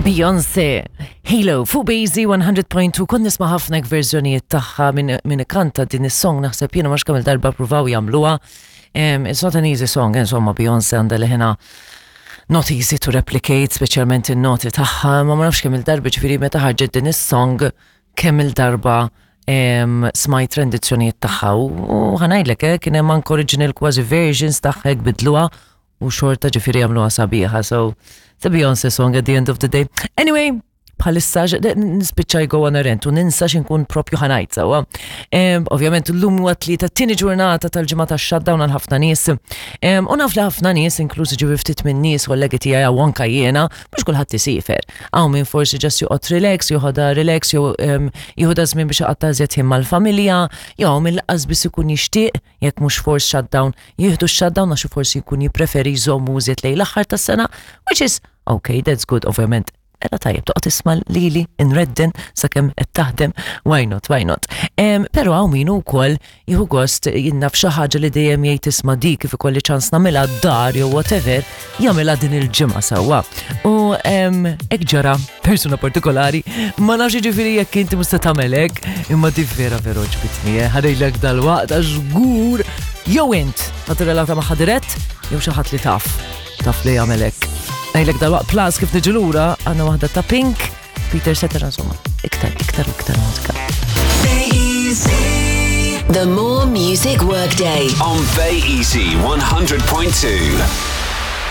Beyoncé, Halo, fuq Bazy 100.2, kont nisma' ħafna verżjonijiet tagħha minn ikanta din is-song naħseb jiena mhux kemm il-darba pruvaw jagħmluha. It's not an easy song, insomma Beyoncé għandha leħinha not easy to replicate, speċjalment in-noti tagħha, ma ma nafx kemm il-darba ġifieri meta ħarġet din is-song kemm il-darba smajt rendizzjonijiet tagħha u ħanajdlek eh, kien hemm anke original kważi versions tagħha hekk bidluha u xorta ġifieri jagħmluha sabiħa. So, it's a Beyoncé song at the end of the day. Anyway, bħalissa nispiċċa jgo on a rent u ninsa xinkun propju ħanajt sawa. Ovvjament l-lum huwa tlieta tieni ġurnata tal-ġimgħa tax-shutdown għal ħafna nies. U naf li ħafna nies, inklużi ġifi ftit minn nies kollegi tiegħi u anka jiena, mhux kulħadd isifer. Hawn min forsi ġast joqgħod relax, joħodha relax, jew jieħodha żmien biex iqatta' iżjed ħin mal-familja, jew hawn min lanqas biss ikun jixtieq jekk mhux force shutdown, jieħdu x-shutdown għax forsi jkun jippreferi jżommu iżjed lejn l-aħħar tas-sena, which is okay, that's good, ovvjament. Mela tajjeb, toqgħod tisma' lili nredden sakemm qed taħdem, why not, why not. Però hawn min ukoll jieħu gost jinnaf xi ħaġa li dejjem jgħid isma' dik kif ikolli ċans nagħmilha d-dar jew whatever, jagħmilha din il-ġimgħa sewwa. U hekk ġara persuna partikolari, ma nafx jiġifieri jekk inti mhux se tagħmel hekk, imma di vera vera ġbitni, eh, ħarejdlek dal-waqt għax żgur jew int ma tirrelata magħha dirett jew xi ħadd li taf, taf li jagħmel hekk. Ngħidlek dal-waqt plus kif niġu lura għandna waħda ta' Pink, Peter Cetera insomma, iktar, iktar u iktar mużika. The More Music Workday. On Bay Easy 100.2.